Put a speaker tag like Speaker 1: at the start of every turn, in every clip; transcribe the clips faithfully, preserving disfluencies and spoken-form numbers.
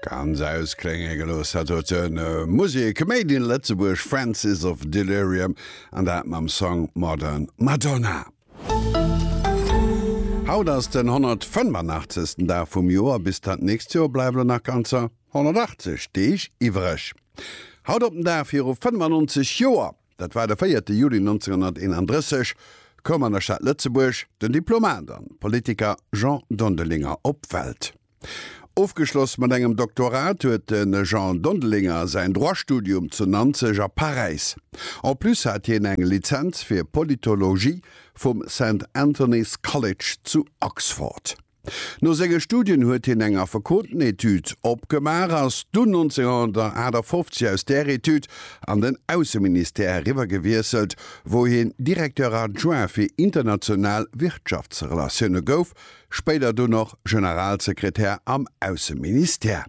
Speaker 1: Ganz ausklénge gelooss, dat huet de Musek Made in Lëtzebuerg Francis of Delirium an dat mam Song Modern Madonna. Haut ass den honnertfënnefanachtzesten Dag vum Joer, bis dat nächst Joer bleiwe lo nach ganzer honnertachtzeg Deeg iwwreg. Haut op den Dag viru fënnefannonzeg Joer, dat war de véierte Juli nonzénhunnerteenandrësseg, koum an der Stad Lëtzebuerg den Diplomat an Politiker Jean Dondelinger op d'Welt. Ofgeschloss mat engem Doktorat huet de Jean Dondelinger säin Droit-Studium zu Nanzeg a Paräis. En plus hat hien eng Lizenz fir Politologie vum Saint Anthony's College zu Oxford. No senge Studien huet hien eng Affekotenetude opgemaach, ass dunn nonzénhunnertaachtafoffzeg aus där Etude an den Ausseministère eriwwer gewiesselt, wou hien Directeur adjoint fir international Wirtschaftsrelatioune gouf, spéider dunn och Generalsekretär am Ausseministère.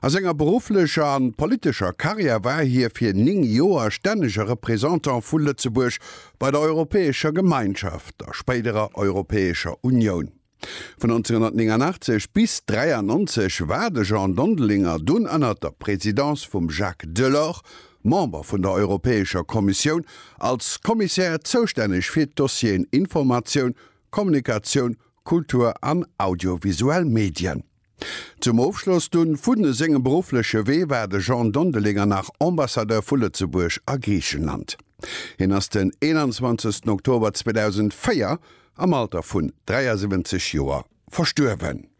Speaker 1: A senger berufflecher an politescher Karriär war hie fir néng Joer stännege Représentant vu Lëtzebuerg bei der Europäescher Gemeinschaft, der spéiderer Europäescher Unioun. Vun nonzénhunnertnénganachtzeg bis dräiannonzeg war de Jean Dondelinger dunn ënnert der Presidence vum Jacques Delors Member vun der Europäescher Kommissioun, als Kommissär zoustänneg fir d'Dossieren Informatioun, Kommunikatioun, Kultur an audiovisuell Medien. Zum Ofschloss dunn vu sengem beruffleche Wee war de Jean Dondelinger nach Ambassadeur vu Lëtzebuerg a Griichenland. Hien ass den eenanzwanzegsten Oktober zweedausendvéier am Alter vun dräiasiwwenzeg Joer verstuerwen.